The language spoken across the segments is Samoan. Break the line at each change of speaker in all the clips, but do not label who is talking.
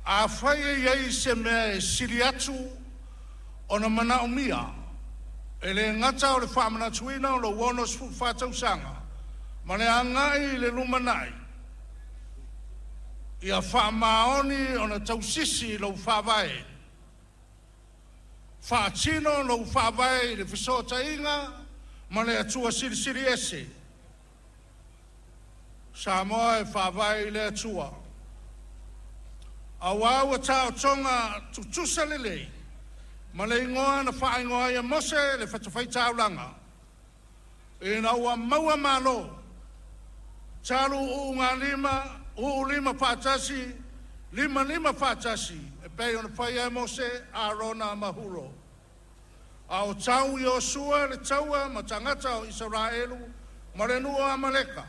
Afai e i ai se mea e sili atu ona manaomia, e le gata o le faamanatuina o lou 64 tausaga ma le agai i le lumanai, ia faamaoni ona tausisi lou faavae, faatino lou faavae i le fesootaiga ma le Atua Silisili Ese. Samoa e faavae i le Atua, auā ua taotoga tutusa lelei ma le igoa na faaigoa ai e Mose le fatafaitaulaga ina ua maua malo talu ulugalima uluulima faatasi limalima faatasi e pei ona faia e Mose, Arona ma Hulo. A o tau Iosua le taua ma tagata o Isaraelu ma le nuu o Amaleka,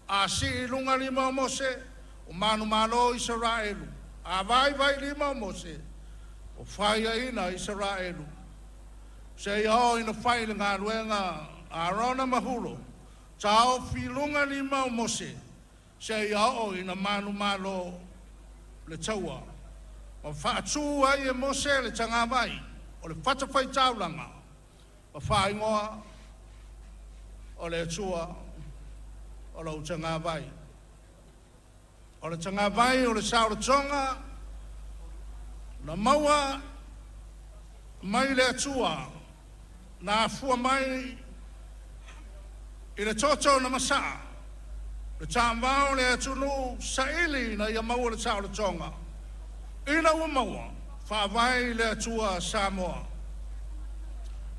a sii i luga lima o Mose, ua manumalo Isaraelu. A vaivai lima o Mose, ua faiaina Isaraelu. Seia oo ina fai le galuega a Arona ma Hulo, taofi i luga lima o Mose seia oo ina manumalo le taua. Ma faatu ai e Mose le tagavai o le fatafaitaulaga ma faaigoa o le Atua o lou tagavai. O le tagavai o le saolotoga na maua mai le Atua na afua mai i le toto na masaa, le tamavao o le atunuu saili ina ia maua le saolotoga. Ina ua maua, faavae i le Atua Samoa.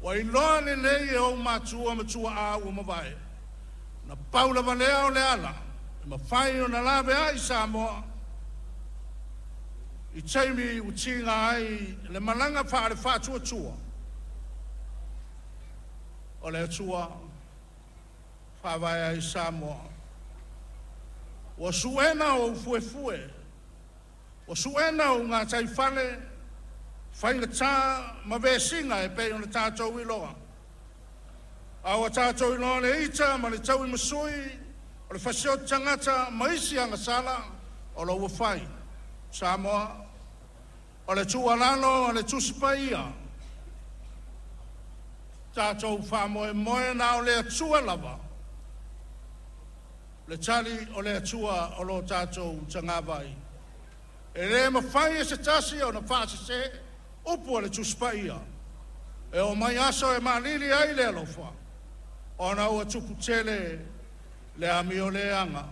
Ua iloa lelei e ou matua ma tuaa ua mavae, na pau lava lea o le ala e mafai ona laveai Samoa i taimi ua tiga ai le malaga faale-faatuatua o le Atua faavae ai Samoa. Ua suena ou fuefue, ua suena ou gataifale, faigata ma vesiga e pei ona tatou iloa. A ua tatou iloa le ita ma le tauimasui o le fasioti tagata ma isi agasala o lo o ua fai. Samoa, o le tuualalo a le Tusi Paia, tatou faamoemoe na o le Atua lava, le tali o le Atua o lo tatou tagavai. E le mafai e se tasi ona faasese upu a le Tusi Paia. E oo mai aso e maalili ai le alofa, ona ua tupu tele le amioleaga.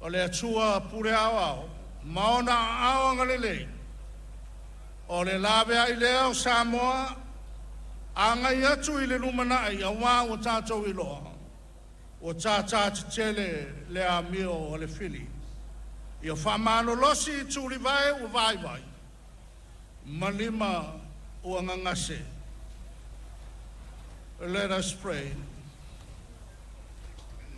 O le Atua pule aoao ma ona aao agalelei, o le laveai lea o Samoa agai atu i le lumanai auā ua tatou iloa ua tātā tetele le amio a le fili. Ia faamalolosi tulivae ua vaivai ma lima ua gagase. Let us pray.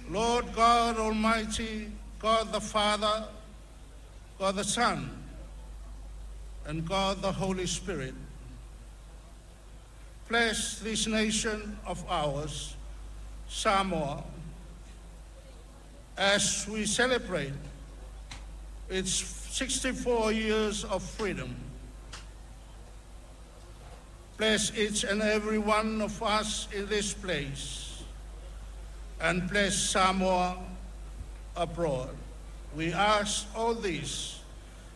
Lord God Almighty, God the Father, God the Son, and God the Holy Spirit, bless this nation of ours, Samoa, as we celebrate its 64 years of freedom. Bless each and every one of us in this place, and bless Samoa abroad. We ask all this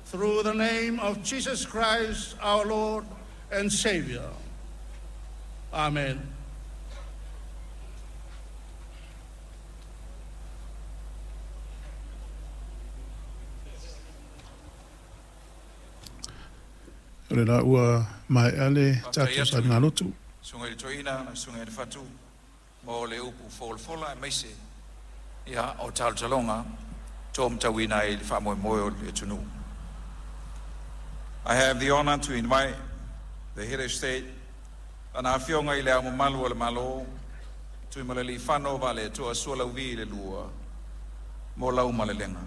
through the name of Jesus Christ, our Lord and Savior. Amen.
O le la ua maea le tatou sailiga lotu.
Susuga i le Toeaina na Susuga i le Fatu mo le upu folafola aemaise ia o talotaloga to ai le faamoemoe o le atunuu. I have the honor to invite the head of state, Lana Afioga i Le Ao Mamalu o le Malo, Tuimalealiifano Vaaletoa Sualauvi II, mo lau malelega.